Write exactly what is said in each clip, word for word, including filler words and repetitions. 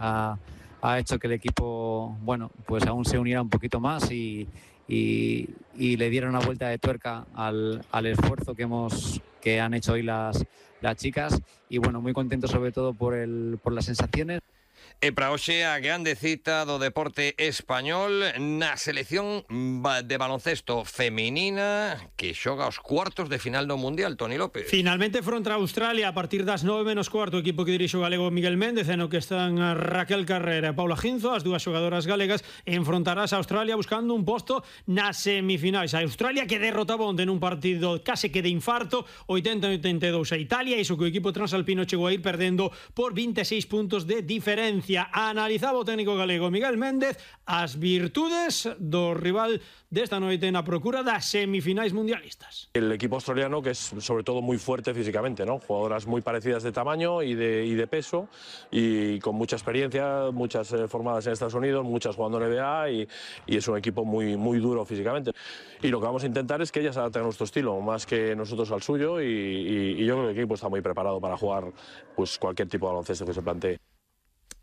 ha, ha hecho que el equipo, bueno, pues aún se uniera un poquito más y, y, y le diera una vuelta de tuerca al, al esfuerzo que hemos que han hecho hoy las, las chicas. Y bueno, muy contento sobre todo por, el, por las sensaciones. E para hoxe a grande cita do deporte español na selección de baloncesto feminina que xoga os cuartos de final do Mundial, Toni López. Finalmente fronte a Australia a partir das nove menos cuarto, o equipo que dirixe o galego Miguel Méndez, no que están Raquel Carrera e Paula Ginzo, as dúas xogadoras galegas, enfrontarás a Australia buscando un posto nas semifinais. A Australia que derrotaba onde nun partido case que de infarto oitenta a oitenta e dous a Italia, iso que o equipo transalpino chegou a ir perdendo por vinte e seis puntos de diferencia. Analizaba o técnico galego Miguel Méndez as virtudes do rival desta noite na procura das semifinais mundialistas. El equipo australiano, que es sobre todo muy fuerte físicamente, ¿no? Jugadoras muy parecidas de tamaño y de, y de peso, y con mucha experiencia, muchas eh, formadas en Estados Unidos, muchas jugando en N B A, y, y es un equipo muy, muy duro físicamente. Y lo que vamos a intentar es que ellas se adapten a nuestro estilo, más que nosotros al suyo, y, y, y yo creo que el equipo está muy preparado para jugar pues, cualquier tipo de baloncesto que se plantee.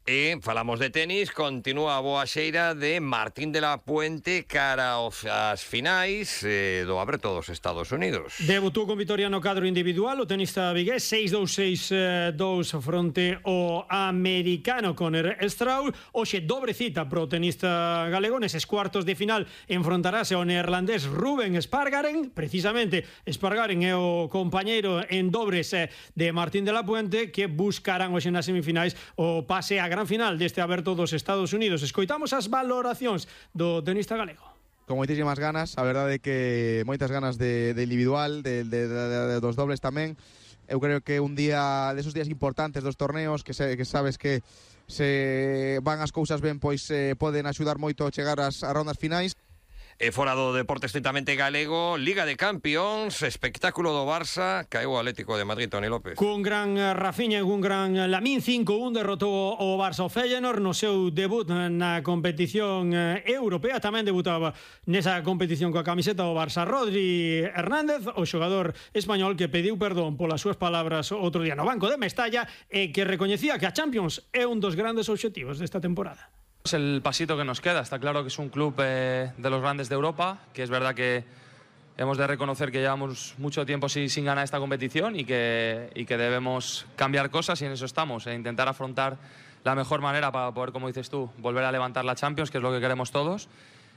E falamos de tenis, continúa a boa xeira de Martín de la Puente cara aos finais eh, do Aberto dos Estados Unidos. Debutou con vitoria no cadro individual o tenista vigués, seis dous seis dous fronte ao americano Conor Straub. Hoxe dobre cita pro tenista galego, neses cuartos de final enfrontarase ao neerlandés Ruben Spargaren. Precisamente Spargaren é o compañeiro en dobles de Martín de la Puente, que buscarán hoxe nas semifinais o pase a gran final deste Aberto dos Estados Unidos. Escoitamos as valoracións do tenista galego. Con moitísimas ganas, a verdade é que moitas ganas de, de individual, de, de, de, de dos dobles tamén. Eu creo que un día desos días importantes dos torneos, que, se, que sabes que se van as cousas ben, pois eh, poden axudar moito a chegar ás, ás rondas finais. E fora do deporte estritamente galego, Liga de Campións, espectáculo do Barça, caeu o Atlético de Madrid, Toni López. Cun gran Rafinha e cun gran Lamín, cinco un derrotou o Barça o Feyenoord no seu debut na competición europea. Tamén debutaba nesa competición coa camiseta do Barça Rodri Hernández, o xogador español que pediu perdón polas súas palabras outro día no banco de Mestalla e que recoñecía que a Champions é un dos grandes obxectivos desta temporada. Es el pasito que nos queda. Está claro que es un club eh, de los grandes de Europa, que es verdad que hemos de reconocer que llevamos mucho tiempo sin, sin ganar esta competición y que, y que debemos cambiar cosas, y en eso estamos, e intentar afrontar la mejor manera para poder, como dices tú, volver a levantar la Champions, que es lo que queremos todos.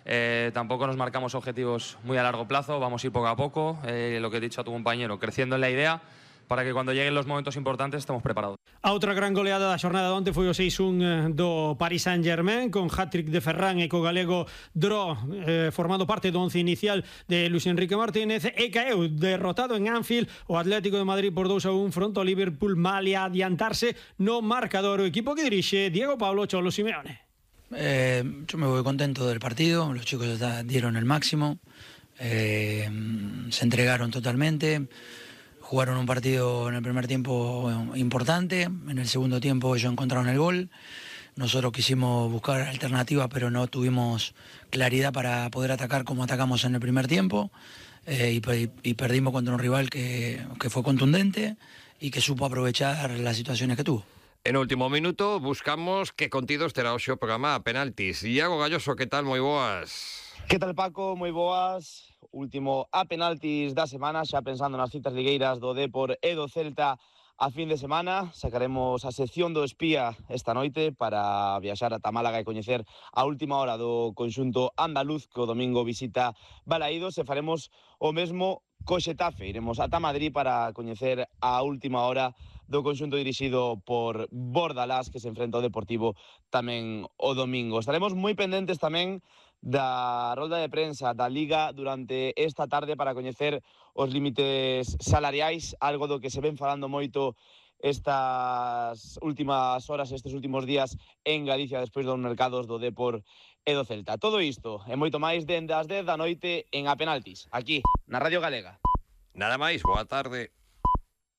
Eh, tampoco nos marcamos objetivos muy a largo plazo, vamos a ir poco a poco, eh, lo que he dicho a tu compañero, creciendo en la idea, para que cuando lleguen los momentos importantes estemos preparados. A outra gran goleada da xornada de onte foi o seis un do Paris Saint-Germain, con hat-trick de Ferran e co galego Dro eh, formando parte do once inicial de Luis Enrique Martínez, e caeu derrotado en Anfield o Atlético de Madrid por dous a un fronte ao Liverpool, malia adiantarse no marcador o equipo que dirixe Diego Pablo Cholo Simeone. Eh, yo me voy contento del partido, los chicos dieron el máximo, eh, se entregaron totalmente. Jugaron un partido en el primer tiempo importante, en el segundo tiempo ellos encontraron el gol, nosotros quisimos buscar alternativas pero no tuvimos claridad para poder atacar como atacamos en el primer tiempo, eh, y, y perdimos contra un rival que, que fue contundente y que supo aprovechar las situaciones que tuvo. En último minuto buscamos que contidos terá hoxe o programa a penaltis. Iago Galloso, que tal? Moi boas. Que tal, Paco? Moi boas. Último a penaltis da semana, xa pensando nas citas ligueiras do Depor e do Celta a fin de semana. Sacaremos a sección do espía esta noite para viaxar ata Málaga e coñecer a última hora do conxunto andaluz, que o domingo visita Balaídos, e faremos o mesmo co Xetafe. Iremos ata Madrid para coñecer a última hora do conxunto dirixido por Bordalás, que se enfrenta ao Deportivo tamén o domingo. Estaremos moi pendentes tamén da rolda de prensa da Liga durante esta tarde para coñecer os límites salariais, algo do que se ven falando moito estas últimas horas, estes últimos días en Galicia, despois dos mercados do Depor e do Celta. Todo isto e moito máis dende as dez da noite en A Penaltis, aquí na Radio Galega. Nada máis, boa tarde.